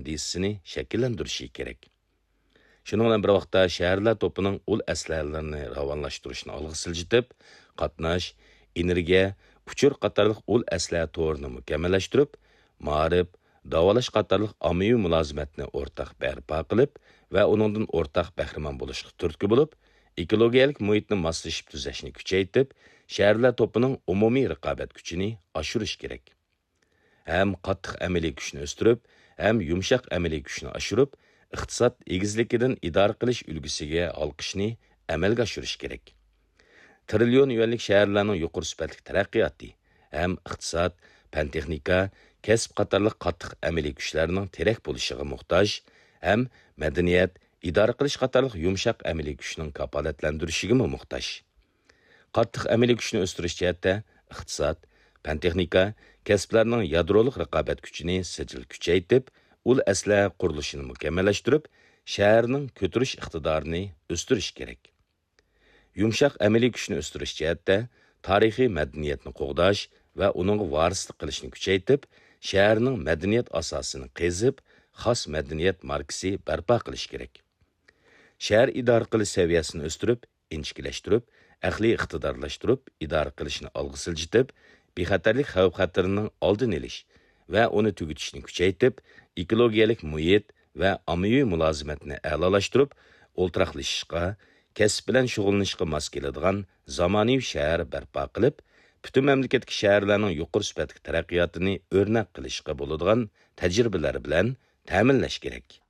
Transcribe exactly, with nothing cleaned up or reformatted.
كوندىتسىيىسىنى شەكىللەندۈرۈشى كېرەك. شۇنىڭ بىلەن بىر ۋاقىتتا، شەھەرلەر توپىنىڭ ئۇل ئەسلىھەلىرىنى راۋانلاشتۇرۇشنى ئالغا سىلجىتىپ، قاتناش، ئېنېرگىيە، ئۇچۇر قاتارلىق ئۇل ئەسلىھە تورىنى مۇكەممەللەشتۈرۈپ، مائارىپ، داۋالاش قاتارلىق ئاممىۋى مۇلازىمەتنى ئورتاق بەرپا قىلىپ ۋە ئۇنىڭدىن ئورتاق بەھرىمەن بولۇشقا تۈرتكە بولۇپ، ئېكولوگىيەلىك مۇھىتنى ماسلىشىپ تۈزەشنى كۈچەيتىپ، شەھەرلەر توپىنىڭ ئومۇمىي رىقابەت كۈچىنى ئاشۇرۇش كېرەك. ھەم قاتتىق ئەمەلىي كۈچنى ئۆستۈرۈپ، ھەم يۇمشاق ئەمەلىي كۈچنى ئاشۇرۇپ، ئىقتىساد ئېگىزلىكىدىن ئىدارە قىلىش ئۈلگىسىگە ھالقىشنى ئەمەلگە ئاشۇرۇش كېرەك. تىرىليون يۈەنلىك شەھەرلەرنىڭ يۇقىرى سۈپەتلىك تەرەققىياتى ھەم ئىقتىساد، پەن-تېخنىكا، كەسىپ قاتارلىق قاتتىق ئەمەلىي كۈچلەرنىڭ تىرەك بولۇشىغا موھتاج ھەم مەدەنىيەت، ئىدارە قىلىش قاتارلىق يۇمشاق ئەمەلىي كۈچنىڭ كاپالەتلەندۈرۈشىگىمۇ موھتاج. قاتتىق ئەمەلىي كۈچنى ئۆستۈرۈش جەھەتتە ئىقتىساد، پەن-تېخنىكا، كەسىپلەرنىڭ يادرولۇق رىقابەت كۈچىنى سىجىل كۈچەيتىپ، ئۇل ئەسلىھە قۇرۇلۇشىنى مۇكەممەللەشتۈرۈپ، شەھەرنىڭ كۆتۈرۈش ئىقتىدارىنى ئۆستۈرۈش كېرەك. يۇمشاق ئەمەلىي كۈچنى ئۆستۈرۈش جەھەتتە تارىخىي مەدەنىيەتنى قوغداش ۋە ئۇنىڭغا ۋارىسلىق قىلىشنى كۈچەيتىپ، شەھەرنىڭ مەدەنىيەت ئاساسىنى قېزىپ، خاس مەدەنىيەت ماركىسى بەرپا قىلىش كېرەك. شەھەر ئىدارە قىلىش سەۋىيەسىنى ئۆستۈرۈپ، ئىنچىكىلەشتۈرۈپ، ئەقلىي ئىقتىدارلاشتۇرۇپ ئىدارە قىلىشنى ئالغا سىلجىتىپ، بىخەتەرلىك خەۋپ-خەتىرىنىڭ ئالدىنى ئېلىش ۋە ئۇنى تۈگىتىشنى كۈچەيتىپ، ئېكولوگىيەلىك مۇھىت ۋە ئاممىۋى مۇلازىمەتنى ئەلالاشتۇرۇپ، ئولتۇراقلىشىشقا، كەسىپ بىلەن شۇغۇللىنىشقا ماس كېلىدىغان زامانىۋى شەھەر بەرپا قىلىپ، پۈتۈن مەملىكەتتىكى شەھەرلەرنىڭ يۇقىرى سۈپەتلىك تەرەققىياتىنى ئۆرنەك قىلىشقا بولىدىغان تەجرىبىلەر بىلەن تەمىنلەش كېرەك.